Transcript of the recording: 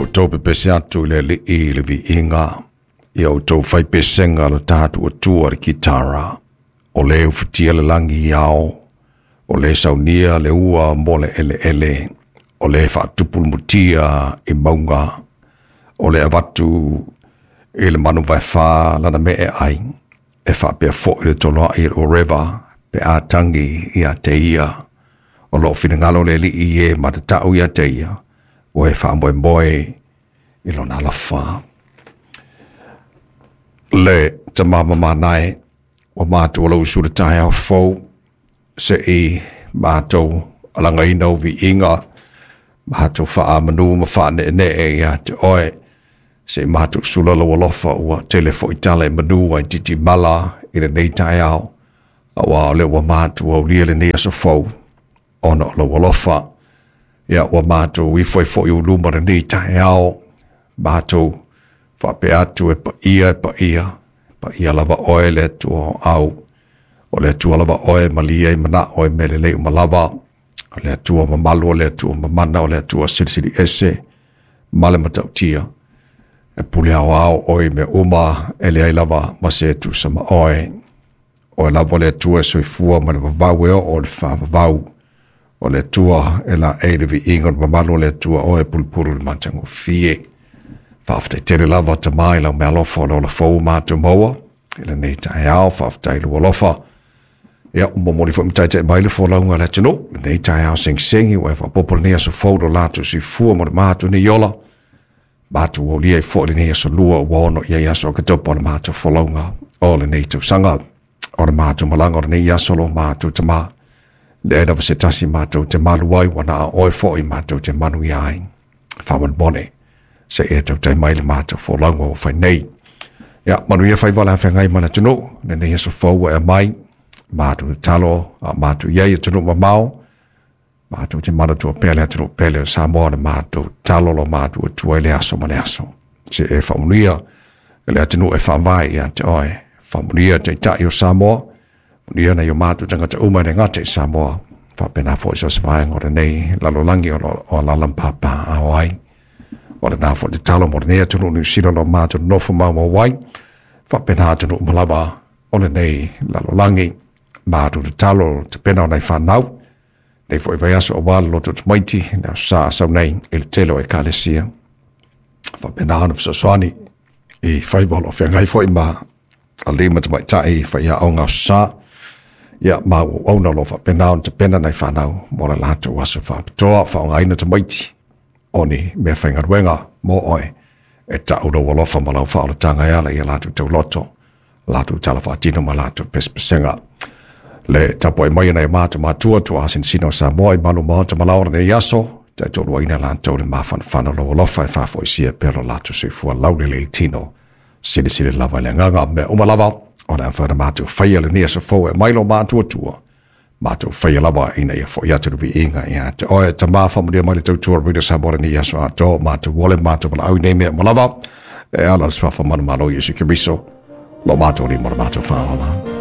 Outou pepese atu i le Alii i le viiga, ia outou faipesega le taatuatua le kitara, o le ufitia le lagi i ao, o le saunia le ua mo le eleele, o le faatupu le mutia i mauga, o le avatu i le manu vaefa lana mee ai, e faapea foi le toloai i le oreva pe a tagi ia te ia. O loo finagalo le Alii e matatau ia te ia, ua e faamoemoe i lona alofa. Le tamamamanae, ua matou lau usu le taeao fou, se i matou alagaina o viiga, matou faamanu ma faaneenee ia te oe, se i matou sula lau alofa ua tele foi tala e manu ai titimala i lenei taeao, aua o lea ua matou aulia lenei aso fou, ona o lau alofa. Ia ua matou ifo ai foi i luma lenei taeao, matou faapea atu e paia, e paia, paia lava oe le Atua o au. O le Atua lava oe malia i manao e mea lelei uma lava. O le Atua mamalu, o le Atua mamana, o le Atua silisili ese ma le matautia. E pule aoao oe i mea uma, e leai lava ma se tusa ma oe. Oe lava le Atua e soifua ma le vavau e oo i le faavavau. O le Atua e laei le viiga o le mamalu o le Atua oe e pulupulu le matagofie. Faafetai tele lava Tama i lau meaalofa o le ola fou matou maua i lenei taeao. Faafetai i lou alofa. Ia, ua momoli foi ma taitai mai le folauga a le atunuu lenei taeao segisegi, ua e faaopoopo lenei aso fou lo latou soifua ma le matou nei ola. Matou aulia ai foi lenei aso lua ua ono i ai aso Oketopa o le matou folauga o lenei tausaga. O le matou malaga o lenei aso lo matou Tama, leai lava se tasi matou te malu ai, ua na o oe foi matou te manuia ai. Faamolemole, se e tautai mai le matou folauga ua fai nei. Ia, manuia faiva o le afeagai ma le atunuu, lenei aso fou ua e aumai, matou tatalo, a matou i ai i atunuu mamao, matou te manatua pea le atunuu pele o Samoa, le matou tatalo lo matou Atua i le aso ma le aso. Se e faamanuia le atunuu e faavae ia te oe, faamanuia taitai o Samoa, manuia nai o matou tagata uma e le gata i Samoa, faapena foi so se vaega o lenei lalolagi o alaala ma papaaao ai. O lena foi tatalo mo lenei atunuu Niu Sila lo matou nofo maumau ai, faapena atunuu uma lava o lenei lalolagi. Matou tatalo tapena o nai fanau, nei foi vaiaso aua le loto tamaiti, le aso sa sau nei i le tele o ekalesia. Faapena ona fesoasoani i faiva o lo o feagai foi ma alii ma tamaitai faiaoga aso sa, ia ma auauna o lo o faapena ona tapena nai fanau mo le latou aso faapitoa, faaaogaina tamaiti o ni mea faigaluega mo oe, e tau lou alofa ma lau faaolataga e ala i a latou tauloto, latou tala faatino ma latou pesepesega. Le tapuai mai nai o matou matua tuaasinasina o Samoa i malu maota ma lao o lenei aso, taitoluaina latou le mafanafana o lou alofa e faafoisia pea lo latou soifua laulelei i le tino. Silisili lava i le agaga mea uma lava o le a mafai ona matou faia lenei aso fou e aumai lo matou Atua. Matou faia lava ina ia foi atu le viiga ia te oe. Tama, faamanuia mai le tautua Radio Samoa lenei aso atoa, matou ole matou valaau i nei mea uma lava e ala i le suafa manumalo o Iesu Keriso, lo matou Alii ma lo matou Faaola.